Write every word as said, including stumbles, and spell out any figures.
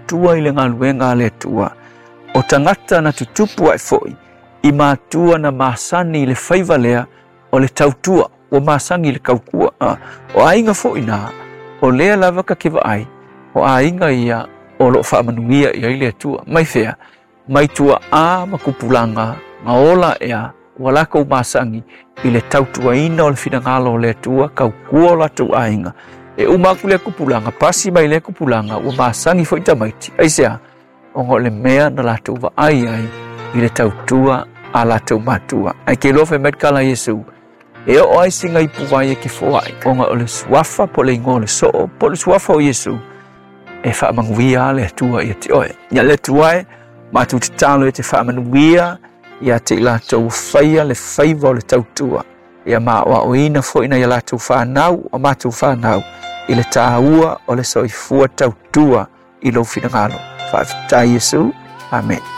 tautua i le galuega a le Atua. O tagata na tutupu ae foi i matua na masani i le faiva lea o le tautua, ua masani i le tautua. O aiga foi na, o lea lava ka te vaai, o aiga ia o loo faamanuia i ai le Atua. Mai fea? Mai tuaa ma tupulaga na ola ea ua latou masani i le tautuaina o le finagalo o le Atua, tautua o latou aiga. E uma atu lea tupulaga, pasi mai lea tupulaga, ua masani foi tamaiti. Aisea? Ona o le mea na latou vaai ai i le tautua a latou matua. Ae ke iloa fai mai le tala a Iesu, e oo ai sina ipuvai e ke foai, ona o le suafa po o le igoa o le soo, po o le suafa o Iesu, e faamanuia le Atua ia te oe. Ia le Atua e, matou tatalo e te faamanuia ia te i latou faia le faiva o le tautua. Ia maoaoina foi na ia latou fanau o matou fanau i le tāua o le soifua tautua i lou finagalo. Faafetai Iesu. Amen.